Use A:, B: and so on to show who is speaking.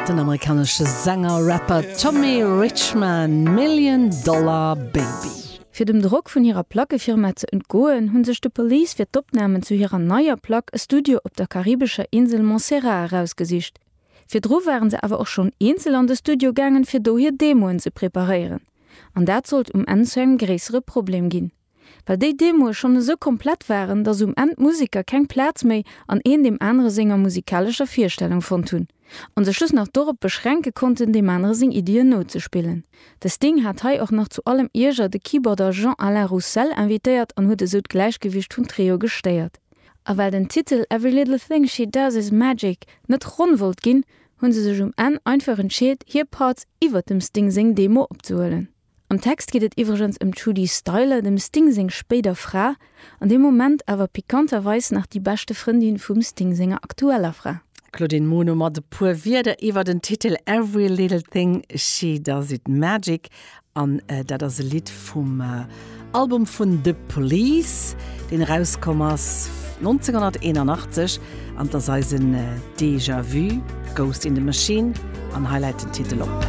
A: Den amerikanesche Sänger, Rapper Tommy Richman, Million Dollar Baby.
B: Fir dem Drock vun hirer Plackefirma ze entgoen, hu sech The Police fir d'Opnamen zu hirer neier Plack e Studio op der karibescher Insel Montserrat erausgesicht. Virdru waren se awer och schonn eenzel an de Studio gaangen, fir do hir Demoen ze preparéieren. An dat sollt um Enn zu engem gréissere Problem ginn. Well déi Demoe schonn esou komplett waren, datt um Enn d'Museker keng Plaz méi an een deem anere senger musikalescher Virstellung fonnt hunn. An sech just nach dorop beschränke konnten, deem anere seng Iddien nozespillen. De Sting hat hei och nach zu allem Ierger de Keyboarder Jean-Alain Roussel invitéiert an huet esou d'Gläichgewicht vum Trio gestéiert. A well den Titel Every Little Thing She Does Is Magic net ronn wollt ginn, hu se sech um Enn einfach entscheet, hir Parts iwwert dem Sting seng Demo opzehuelen. Am Text geet et iwwregens ëm d'Trudie Styler, dem Sting seng spéider Fra, an deem Moment awer pikanterweis nach déi beschte Frëndin vum Sting senger aktueller Fra.
A: Claudine Muno mat e puer Wierder iwwer den Titel Every Little Thing She Does It Magic. An dat ass e Lidd vum Album vun The Police, deen erauskomm ass 1981. An 't ass eisen Déjà Vu, Ghost in the Machine. An hei läit den Titel op.